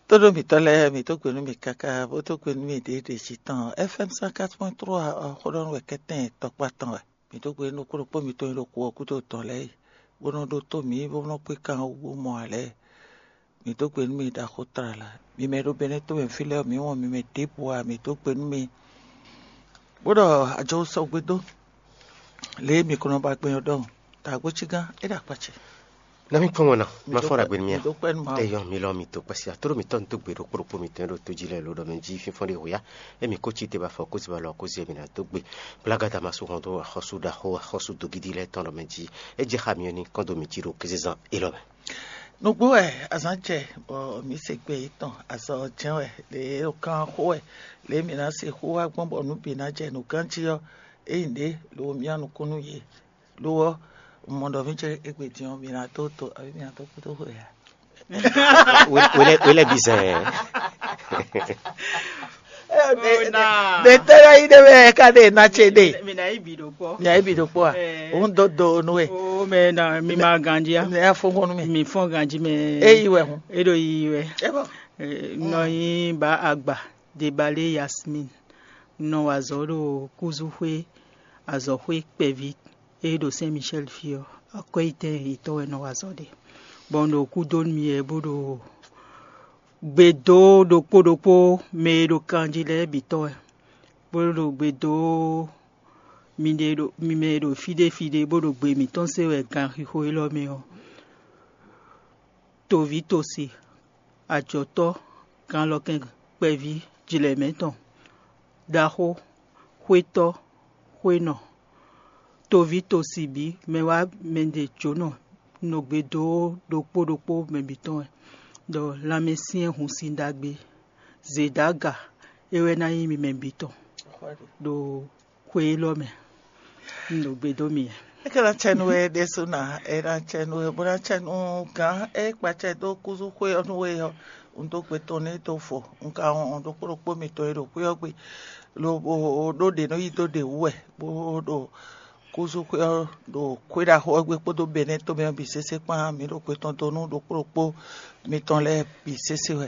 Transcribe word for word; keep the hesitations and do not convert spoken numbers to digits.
Tóɖó mǐtɔn lɛ́ɛ, mǐ dó gbe nú mì káká, bó dó gbe nú mì ɖěɖě jí tɔn. F M cent quatre point trois, xó ɖɔ nú wɛ kɛ́tɛn tɔkpá tɔn wɛ. Mǐ dó gbe nú kúɖokpó mitɔn e ɖo kú ɔ́ gúdo tɔn lɛ́ɛ yi, bó nɔ́ ɖótó mǐ, bó nɔ́ kpé kan wú bó mɔ ǎ lɛ́ɛ. Mǐ dó gbe nú mi ɖaxó tlala. Mi mɛ e ɖo Bɛnɛ́ to mɛ fí lɛ́ɛ ɔ́, mǐ wɔn mi mɛ ɖěbǔ ǎ, mǐ dó gbe nú mi, bó ɖɔ ajɔ sɔgbe dó. Lě e mǐ ko nɔ ba gbɛn ɔ́ ɖɔhun, dǎgbó cí gán, é ɖo akpá ce. Nami kpɔ́n ŋɔ nɔ, ma fɔ́n ɖagbe nú mì a? Dó kpɛ́ nú Mawu. Eyɔn mi lɔ mi to kpɛsia tóɖó mi tɔn tó gbe ɖokpó ɖokpó mi tɔn ɖo tó jí lɛ lo ɖɔ mɛ jí fínfɔ́n ɖe hoya. Emi kó cí te ba fɔ kó ziba lɔ kó zi emi na dó gbe. Blagada ma su hɔn dó axɔ́sú ɖaxó axɔ́sú dogidi lɛ tɔn ɖɔ mɛ jí. É jɛ xa mi ɔ́ ní kɔn dó mi jí ɖo kézezán élɔ́ mɛ. Nǔgbó wɛ azǎn jɛ bɔ mǐ se gbe yětɔn azɔ jɛ́n wɛ lě e kan xó wɛ lě e mǐ ná se xó wá gbɔn bɔ nǔ bǐ ná jɛ nǔ gán jí ɔ́, é nyí ɖě lo mǐ nukún nú yě. Lo ɔ́, un mɔ ɖɔ mǐ jɛ égbé din ɔ́, mǐ ná dó to abǐ mǐ ná dó kúdó xwe ǎ. Wele bizɛn. Ɖe tɛ́ lɛ́ yí ɖe wɛ ká ɖe ná ce ɖe. Mǐ ná yí bǐ ɖokpó. Mǐ ná yí bǐ ɖokpó a? Òun dó do nú we. O mɛ na mi ma ganji a? Mǐ ná fɔ́n nú mì. Mi fɔ́n ganji mɛ. É yí wɛ hun. É ɖo yiyi wɛ. É bɔ. Nɔ yí ba agba Debale Yasmin. Nɔ wa azɔ̌ ɖo kúzúxwé azɔ̌xwé kpɛví e ɖo Sɛn Mishɛ́l fí ɔ́, akwɛ́yitɛn yětɔn wɛ nɔ wa azɔ̌ ɖe. Bɔ un ɖo kú dó nú mi wɛ bó ɖo gbe dó ɖokpó ɖokpó mɛ e ɖo kanjí lɛ́ɛ bǐ tɔn wɛ, bó ɖo gbe dó mi ɖe ɖo mi mɛ e ɖo fí ɖé fí ɖé bó ɖo gbe mǐtɔn se wɛ ganxixo élɔ́ mɛ ɔ́. Toví tosi, ajɔ̌tɔ́, ganlɔkɛn kpɛví jlɛ̌ mɛ tɔn, ɖaxó, xwétɔ́, xwénɔ, toví tosi bǐ mɛ wá mɛ ɖe jǒnɔ nɔ gbe dó ɖokpó ɖokpó mɛ bǐ tɔn wɛ, ɖɔ lanmɛ syɛ́n hun sin ɖagbe, zědága é wɛ ná nyí mi mɛ bǐ tɔn ɖo xwe élɔ́ mɛ. Un ɖo gbe dó mi. É ka ná cɛ nú we ɖésú ná, é ná cɛ nú we, bó ná cɛ nú gǎn é kpacɛ dó kúzú xwé ɔ́ nú we ɔ́, un dó gbe tɔn n'i dó fo. Un ka wɔn ɖokpó ɖokpó mitɔn e ɖo xwé ɔ́ gbe, lobo ɖó ɖě nɔ yí dó ɖě wú wɛ, bó ɖo kúzú xwé ɔ́ ɖo xwé ɖaxó ɔ́ gbe kpódó Bɛnɛ́ tomɛ ɔ́ bǐ sésé kpán. Mǐ ɖo gbe tɔn dó nú ɖokpó ɖokpó mitɔn lɛ́ɛ bǐ sésé wɛ.